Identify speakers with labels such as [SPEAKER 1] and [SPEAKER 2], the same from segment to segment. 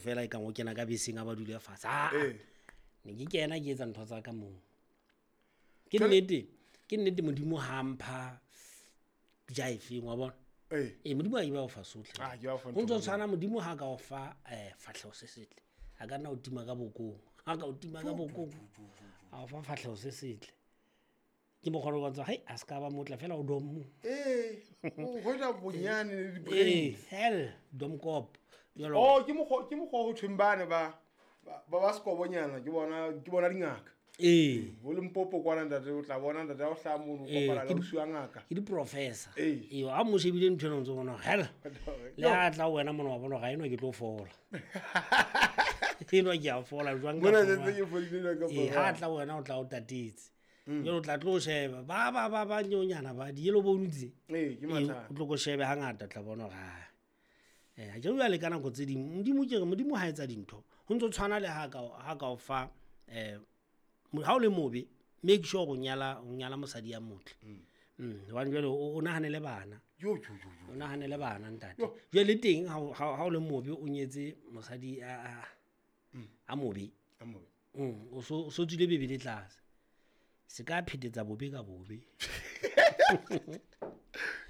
[SPEAKER 1] Fela e kang o kena ka beseng a ba dule fatshe. Ah, ne ke kena ke etsa ntho tsa ka moo. Ke nnete, ke nnete Modimo ha mpha jaefeng wa bona. Ee, Modimo a ba o fa sotlhe.
[SPEAKER 2] Ah, ke ba o fa
[SPEAKER 1] Ho
[SPEAKER 2] ntho
[SPEAKER 1] ntso
[SPEAKER 2] tse
[SPEAKER 1] tshwana Modimo ha ka o fa fahleho se setle. A ka nna o tima ka bokong. Ha ka o tima ka bokong. A o fa fahleho se setle. Ke mokgwa o bontsha, hei, a se ka ba motla fela o dom.
[SPEAKER 2] Ee, o hwetša bonyane le di-brains.
[SPEAKER 1] Ee, hell, dom kop. Jwalo.
[SPEAKER 2] Oh, ke mokgwa ho thweng bane ba sekobonyana, ke bona dingaka.
[SPEAKER 1] Ee.
[SPEAKER 2] Bo Limpopo kwana ntate, o tla bona ntate ha o hlaha mono, o
[SPEAKER 1] Ee,
[SPEAKER 2] kopana le
[SPEAKER 1] ke di-
[SPEAKER 2] ausi wa ngaka.
[SPEAKER 1] Ke di-professor.
[SPEAKER 2] Ee.
[SPEAKER 1] Ee, ha mo shebile ntho ena o ntso bona, hell. Le ha tla ho wena mona wa bona hore ha enwa ke tlo fola. Enwa ke a fola jwang ka
[SPEAKER 2] Mona
[SPEAKER 1] fola?
[SPEAKER 2] setse ke fodile jwang ka
[SPEAKER 1] Ee, ha
[SPEAKER 2] fola?
[SPEAKER 1] tla ho wena o tla o tatetse. Jwale o tla tlo sheba, ba nyonyana ba di-yellow bone tse.
[SPEAKER 2] Ee, ke
[SPEAKER 1] Ee,
[SPEAKER 2] mathata.
[SPEAKER 1] o tlo ko shebe hangata o tla bona hore ha. Ha ke bua le ka nako tse ding, Modimo ke re, Modimo ha etsa dintho. Ho ntso tshwana le ha ka o fa, ha o le mobe, make sure o nyala mosadi ya motle. Hobane jwale o nahanele bana.
[SPEAKER 2] Yo, yo, yo, yo.
[SPEAKER 1] O nahanele bana, ntate.
[SPEAKER 2] Yo.
[SPEAKER 1] Jwale le teng ha o le mobe o nyetse mosadi a mobe.
[SPEAKER 2] A mobe.
[SPEAKER 1] O so tswile bebele tlase. Se ka phetetsa bobe ka bobe.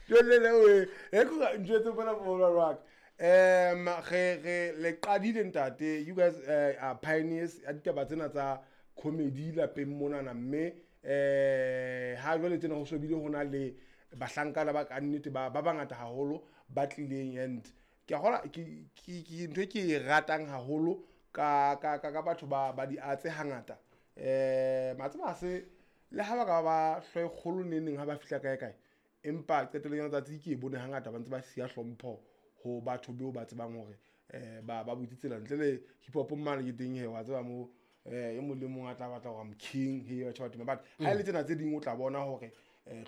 [SPEAKER 2] Jwale le we, e ko ntho tse bona bo ba ka. Re le qadile ntate, you guys are pioneers ya ditaba tsena tsa comedy lapeng monana, mme ha jwale tsena ho sobile ho na le bahlankana ba ka nnete ba bangata haholo ba tlileng, and ke a kgolwa ke ntho e ke e ratang haholo ka batho ba di atse hangata. Matseba ha se le ha ba ka ba hlooho e kgolo neng neng ha ba fihla kae kae, empa qetellong ya letsatsi ke e bone hangata ba ntse ba siya hlompho ho batho beo ba tsebang hore ba butse tsela. Ntle le hip hop mane ke teng he, wa tseba mo, e mong le mong a tla batla hore I'm king, he, batho ba tuma. But ha e le tsena tse ding o tla bona hore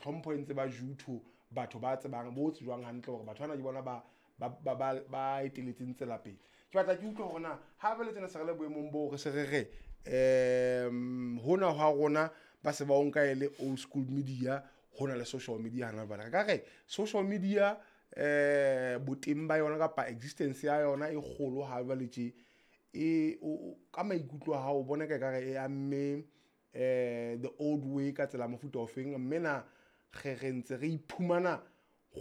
[SPEAKER 2] hlompho e ntse ba jutho batho ba tsebang, bo tsejwang hantle hore batho bana ke bona ba eteletseng tsela pele. Ke batla ke utlwe hore na ha ba le tsena se re le boemong boo re se re re, hona hwa rona ba se ba o nka e le old school media, hona le social media hana jwale. Re ka re social media, boteng ba yona kapa existence ya yona e kgolo ha jwale tje, e, o, ka maikutlo a hao o bona ka ekare e amme, the old way ka tsela mofuta ofeng, mme na re ntse re iphumana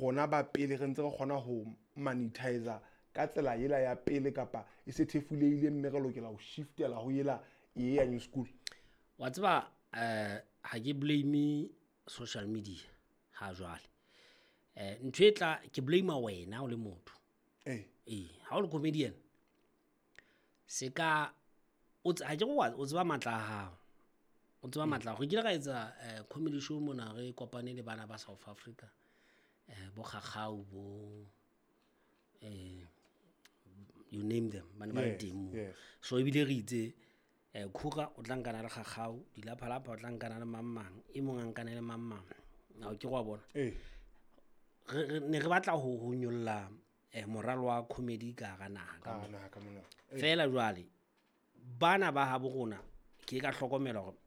[SPEAKER 2] rona ba pele re ntse re kgona ho monetize ka tsela ela ya pele kapa e se thefulehile mme re lokela ho shiftela ho ela e ya new school?
[SPEAKER 1] Wa tseba, ha ke blame social media ha jwale. Ntho e tla ke blame wena o le motho.
[SPEAKER 2] Ee.
[SPEAKER 1] Ee, ha o le comedian, se ka o ha ke re o tseba matla a hao. O tseba matla a hao. Re kile ra etsa, comedy show mona re kopane le bana ba South Africa. Bo Kgakgau, bo, you name them, ba ne ba le teng moo. So ebile re itse, Kgura o tla nkana le Kgakgau, Dilaphalapha o tla nkana le mang mang, e mong a nkane le mang mang. Ha o ke wa bona?
[SPEAKER 2] Ee.
[SPEAKER 1] Re ne re batla ho nyolla, moralo wa comedy ka hara naha ka
[SPEAKER 2] Ka hara
[SPEAKER 1] mona.
[SPEAKER 2] naha ka mona.
[SPEAKER 1] Feela jwale bana ba habo rona ke ka hlokomela hore,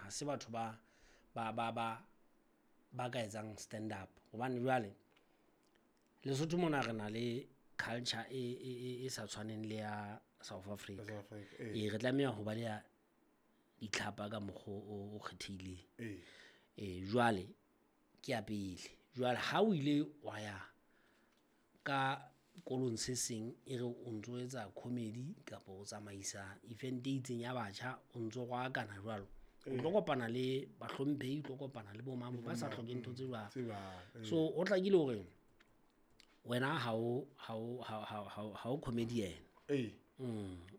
[SPEAKER 1] ha se batho ba ka etsang stand up, hobane jwale Lesotho mona re na le culture e sa tshwaneng le ya South Africa.
[SPEAKER 2] South Africa, ee.
[SPEAKER 1] Ee, re tlameha ho ba le ya ditlhapa ka mokgwa o kgethehileng.
[SPEAKER 2] Ee.
[SPEAKER 1] Ee, jwale ke ya pele. Jwale ha o ile wa ya ka kolong se seng e re o ntso etsa comedy kapa o tsamaisa event e itseng ya batjha, o ntso rwakana jwalo. O tlo kopana le bahlomphehi, o tlo kopana le bo mang ba sa hlokeng ntho tse jwalo.
[SPEAKER 2] Tse jwalo, ee.
[SPEAKER 1] So o hlakile hore wena ha o comedian.
[SPEAKER 2] Ee.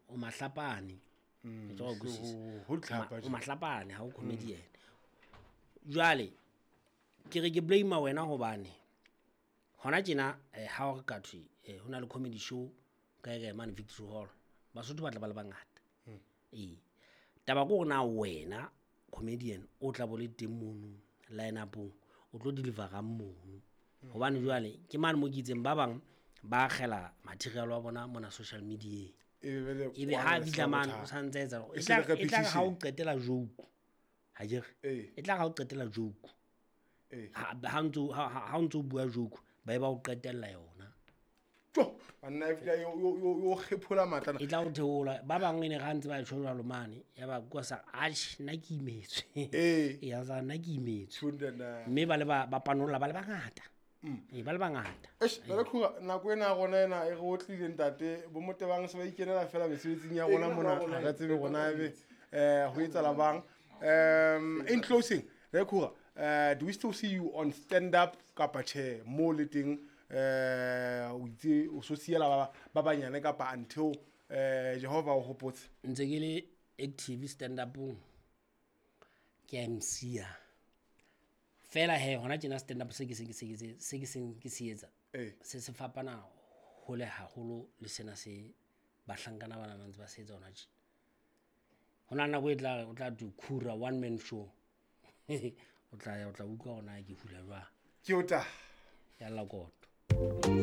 [SPEAKER 1] O mahlapane. Ke tlo go kwisisa.
[SPEAKER 2] Ho ditlhapa
[SPEAKER 1] O mahlapane ha o comedian. Jwale ke re ke blame wena hobane hona tjena, ha o re ka thwe, ho na le comedy show kae kae mane Victory Hall, Basotho ba tla ba le bangata. Ee. Taba ke hore na wena comedian o tla bo le teng mono line up-ong, o tlo deliver-a mono. Hobane jwale ke mane mo ke itseng ba bang ba akgela material wa bona mona social media.
[SPEAKER 2] Ebe
[SPEAKER 1] Ebe ha fihla mane o sa ntse etsa,
[SPEAKER 2] E se le
[SPEAKER 1] e tla re ha o
[SPEAKER 2] repetition.
[SPEAKER 1] qetela joke. Ha ke re?
[SPEAKER 2] Ee.
[SPEAKER 1] E tla re ha o qetela joke.
[SPEAKER 2] Ee.
[SPEAKER 1] Ha, ha ntso, ha, ha, ha o ntso bua joke, ba e ba o qetella yona.
[SPEAKER 2] Tjo, banna e fihla yo kgephola matlana.
[SPEAKER 1] E tla o theola. Ba bangwe ne ga ntse ba tjho jwalo mane, ya ba kwa sa atjhe nna ke imetswe.
[SPEAKER 2] Ee.
[SPEAKER 1] Ya sa nna ke imetswe.
[SPEAKER 2] Tjho,
[SPEAKER 1] Mme ba le ba panolla ba le bangata. Ee, ba le bangata.
[SPEAKER 2] Eish, jwale Khuga, nako ena ya rona ena e re otlile ntate, bo Motebang se ba ikenela fela mesebetsing ya rona mona, ha re tsebe rona ebe ho etsahala bang. In closing, re Khuga, do we still see you on stand up kapa tjhe mo le teng, o itse o so siela ba banyane kapa until Jehova o hopotse?
[SPEAKER 1] Ntse ke le active stand upong, ke a MC-a. Fela he hona tjena stand up se ke se ke se ke se ke seng ke se etsa. Se se fapana hole haholo le sena se bahlankana bana ba ntse ba se etsa hona tje. Hona nako e tla o tla tu Khura one man show. O tla ya o tla utlwa hona ke hula jwang.
[SPEAKER 2] Ke o ta.
[SPEAKER 1] Ya la koto.